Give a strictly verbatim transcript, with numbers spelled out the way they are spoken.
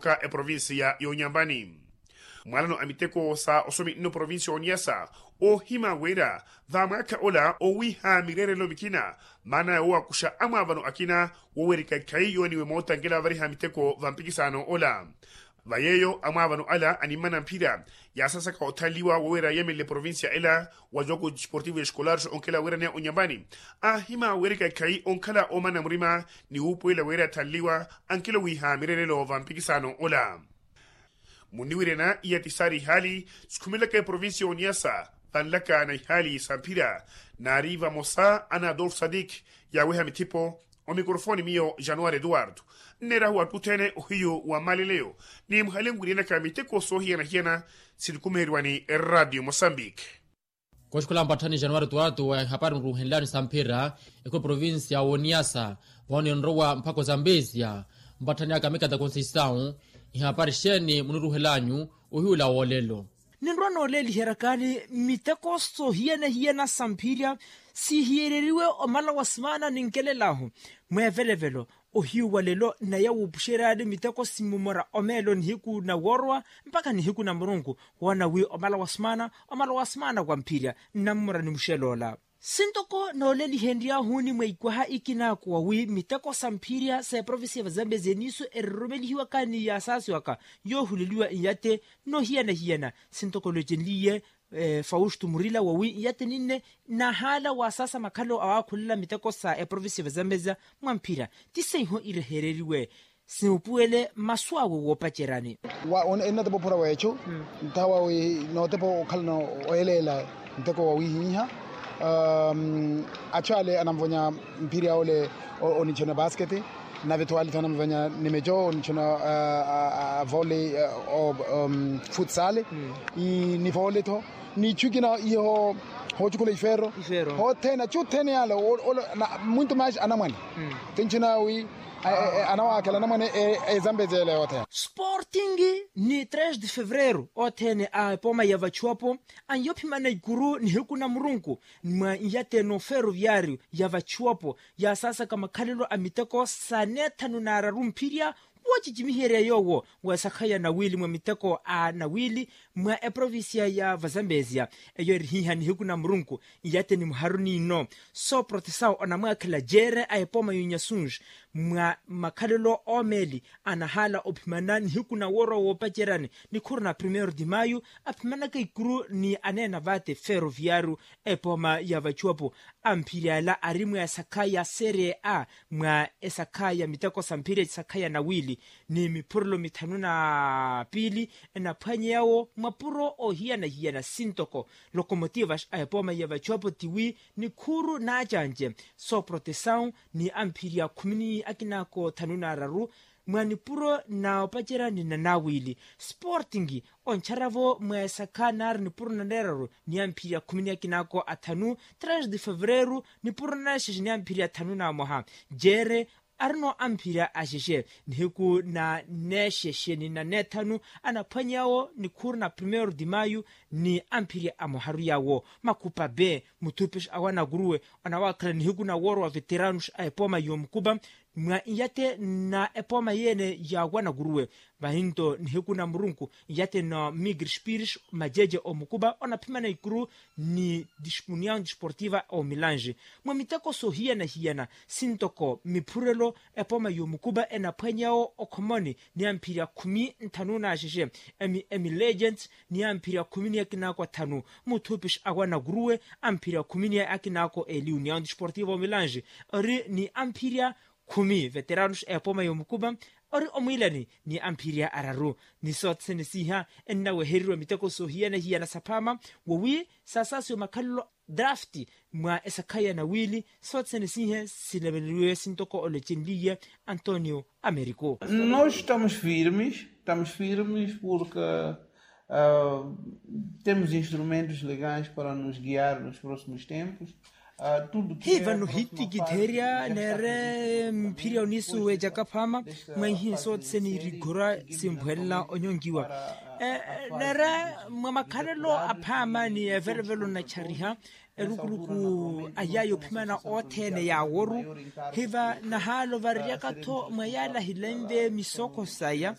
ka eprovincia y'onyambani. Mwalano a miteko sa osomi nno provincia y'oniyasa, oohima wira va mwaakha ola owiha mireerelo mikina, maana yoowakuxa amwaavano akina wowerika ikhayi yooniwe moota nkela vavariha miteko va mpikisano ola. Va yeeyo amwaavano ala animmana mphira yaasasaka othanliwa woweera yeemelele provincia ela wa jogo desportivo escolar onkela weeraneya onyambani, aahima weerika ikhayi onkhala oomana murima ni wuupuwela weera athanliwa ankelo wiiha mireerelo va mpikisano ola. Muniwirena iya ti saari ihaali sikhumelaka eprovincia y'oniyasa, vanlaka na ihaali sa mphira naari vamosa ana adolfo sadik yaaweha mithipo. Omikorofoni miyo januari eduwardo nneerahu atthu othene ohiyu wa mmaleleyo ni muhale nwiirenaka miteko soohiyana-hiyana. Sinikumeeriwani eradio mosambiki. Kooxikola mpatthani januari eduwardo wa ihapari nruuhenlani sa mphira ekhu eprovincia w'oniyasa, vano ninrowa mphako zambesia mpatthani aka mikata conceição. Ihapari xeeni muniruuhelanyu ohiyu ola woolelo? Ninrowa nooleeliheryakani miteko soohiyana-hiyana sa mphirya siihiyereriwe omala wa simaana ninkelel'ahu mweevelevelo. Ohiyu wa lelo naya wuupuxeryani miteko simmumora omeelo nihiku na woorowa mpakha nihiku na murunku woona wi omala wa simaana omala wa simaana wa mphirya nnammora ni muxel'ola. Sintoko noolelihenry'ahuni mwa ikwaha ikinaako wawi miteko sa mphirya sa eprovincia va zambezia niiso eriroromelihiwakani yaasaasiwaka yoohuleliwa nyate noohiyana-hiyana sintoko loocenliye fausto murila wawi nyate ninne nahaala waasaasa makhalelo awaakhulela miteko sa eprovincia va zambezia mwa mphirya ti seiho irehereriwe simupuwele masu awe woopaceryani. Wa ennatepopura weechu nthawa wi nootepa okhalana oyeleela nteko wawihiha. Achu ale anamvonya mphiri aole onichona basketi nave tho ale tho anamvonya nimecho onichona vole futsale ni vole tho ni ichu ikina iho hoochukhula ifero. Hothene achu othene yale mwinto maaxi anamwane tinchina wi anawaakhela anamwane ezambe zeele yothene. Sporting ni tres de fevereiro othene a epooma ya vachuwapo anyophimana ikuru nihiku na murunku mwa nyate no feroviario ya vachuwapo yaasaasaka makhalelo a miteko sa neethanu n'araru mphirya woocicimiherya yoowo wa esakhaya nawiili mwa miteko a nawiili mwa eprovincia ya vazambezia. Eyo erihiha nihiku na murunku nyate ni muharu n'ino sooprotesawo onamwaakhela jeere a epooma y'onyasunji mwa makhalelo oomeeli anahaala ophimana nihiku na woorowa woopaceryani nikhuru na primeiro de maio aphimanaka ikuru ni aneena vaate feroviario epooma ya vachuwapo. Amphiri ala ari mwa esakha ya serie a mwa esakha ya miteko sa mphiri esakha ya nawiili ni miphurelo mithanu na piili enaphwanyeyawo mapuro oohiyana-hiyana sintoko lokomotivas a epooma ya vachuwapo tiwi nikhuru n'acanci sooprotesawo ni amphiri akhumi ni akinaako thanu n'araru mwa nipuro na opacerya ni nanawiili sporting ontxaravo mwa esakha naari nipuro naneeraru ni amphiri akhumi ni akinaako athanu tres de fevereiro nipuro naneexexe ni amphiri athanu na mwaha jeere arino amphiri axexe nihiku na neexexe ni naneethanu anaphwanyeyawo nikhuru na primeiro de maio ni amphiri a mwaharu yawo makhupa be muthupixa awo anakuruwe anawaakhala nihiku na wooro wa veteranos a epooma y'omukupa mwa nyate na epooma yeene ya wanakuruwe vahinto nihiku na murunku nyate na migre spires majeje omukupa onaphimana ikuru ni união desportiva omilange mwa miteko soohiyana-hiyana sintoko miphurelo epooma y'omukupa enaphwanyeyawo okhomoni ni amphiri akhumi nthanu n'axexe emilegent ni amphiri akhumi ni akinaako athanu muthupixa awo anakuruwe amphiri akhumi ni akinaako eli união desportiva omilange ori ni amphiri akhumi veteranos a epooma y'omukupa ori omwiilani ni amphiri araru ni soothene siiha ennawehereriwa miteko soohiyana-hiyana saphaama wowi saasaasiwa makhalelo draft mwa esakha ya nawiili soothene siihe sineveneriwe sintoko olocenliye antonio americo. Nós estamos firmes, estamos firmes porque temos instrumentos legais para nos guiar nos próximos tempos. Hi vano hitikitherya neere mphirya oniisuweca kaphaama mwa ihinso tseni irikhura simpwelela onyonkiwa neere mwa makhalelo aphaama ni evelevelo nacariha erukuruku a yaya ophimana othene yaaworu hiva nahaala ovareryaka-tho mwa yaala hilenve misoko saya